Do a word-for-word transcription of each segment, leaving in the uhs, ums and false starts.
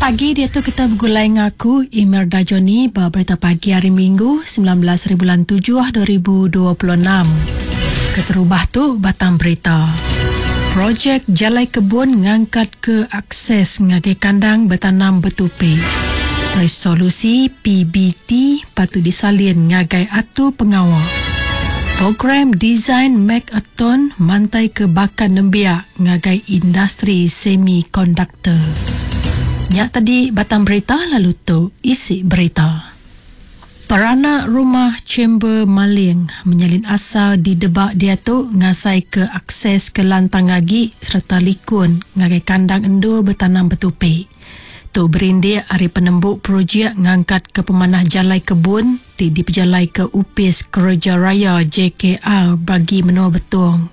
Pagi dia tu kita bergulai ngaku Imelda Johnny ba berita pagi hari Minggu sembilan belas bulan tujuh dua ribu dua puluh enam. Keterubah tu batang berita. Projek Jalai Kebun ngangkat ke akses ngagai kandang bertanam bertupi. Resolusi P B T patut disalin ngagai atu pengawal. Program Design Make-a-Ton mantai ke bakan nembiak ngagai industri semikonduktor. Nyak tadi batang berita lalu tu isi berita. Peranak rumah Chamber Maling menyalin asal di Debak dia tu ngasai ke akses ke lantang agi serta likun ngagai kandang endur bertanam bertupi. Tu berindik hari penembuk projek ngangkat ke pemanah jalai kebun ti dipejalai ke Upis Kerja Raya J K R bagi menua Betong.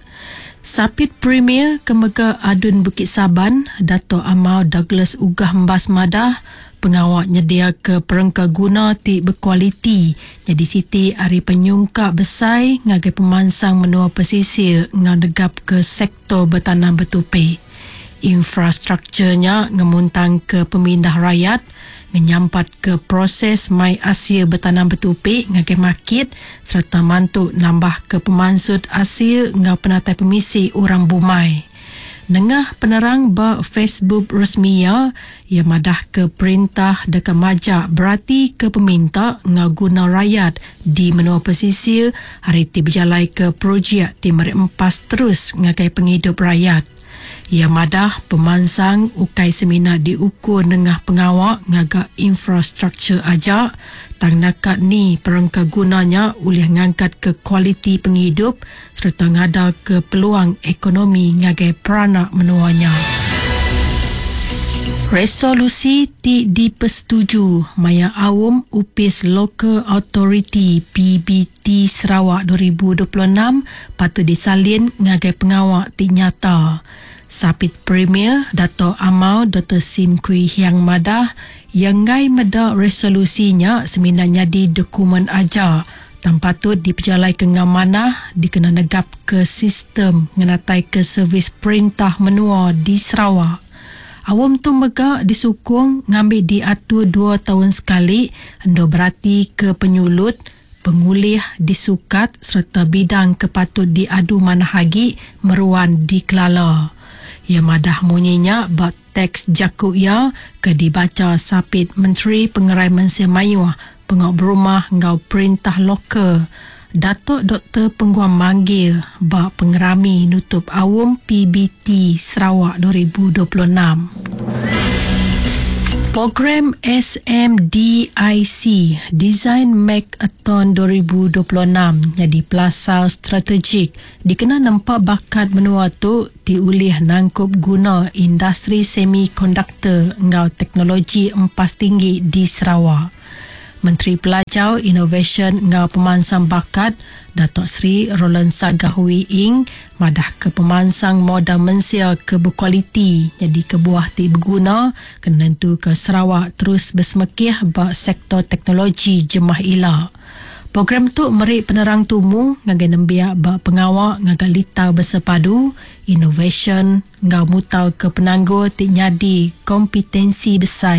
Sapit Premier Kemega Adun Bukit Saban, Dato' Amar Douglas Uggah Embas Madah, pengawak nyedia ke perengka guna ti berkualiti jadi siti hari penyungkak besar ngagai pemansang menua pesisir ngau negap ke sektor bertanam bertupi. Infrastrukturnya ngemuntang ke pemindah rakyat, menyampat ke proses mai Asia bertanam bertupi ngagai market serta mantu nambah ke pemansut Asia ngau penatai pemisi orang bumai. Nengah penerang ba Facebook resmi ia, ia madah ke perintah dekat majak berarti ke peminta ngau guna rakyat di menua pesisir hari ti berjalai ke projek ti merempas terus ngagai penghidup rakyat. Ia madah pemansang ukai semina diukur nengah pengawak ngagak infrastruktur aja, tang nakat ni perengka gunanya ulih ngangkat ke kualiti penghidup serta ngada ke peluang ekonomi ngagai peranak menuanya. Resolusi ti dipersetuju maya awam Upis Local Authority P B T Sarawak dua ribu dua puluh enam patut disalin ngagai pengawak ti nyata. Sapit Premier Dato' Amar Doktor Sim Kui Hiang madah yang ngai meda resolusinya semina jadi dokumen aja tan patut dipejalai ke ngamanah dikena negap ke sistem ngenatai ke servis perintah menua di Sarawak. Awam tu mega disukung ngambil diatur dua tahun sekali endo berarti ke penyulut pengulih disukat serta bidang kepatut diadu manah agi meruan dikelala. Ia madah munyinya bak teks jakuk ia ke dibaca Sapit Menteri Pengerai Mensia Mayuh Pengok Berumah ngau Perintah Lokal Datuk Doktor Pengguan Manggil bak pengerami nutup awam P B T Sarawak dua ribu dua puluh enam. Program S M D I C Design Make-a-Ton dua ribu dua puluh enam jadi pelasar strategik dikena nempak bakat menua tu diulih nangkup guna industri semikonduktor ngau teknologi empas tinggi di Sarawak. Menteri Pelajar, Inovasi ngau Pemansang Bakat Datuk Seri Roland Sagah Wee Ing madah ke pemansang modal mensia ke berkualiti jadi kebuah ti berguna kena nentu ke Sarawak terus bersemekih ba sektor teknologi jemah ila. Program tu meri penerang tumu ngagai nembiak ba pengawak ngagai litar bersepadu, inovasi ngau mutal ke penanggul ti nyadi kompetensi besar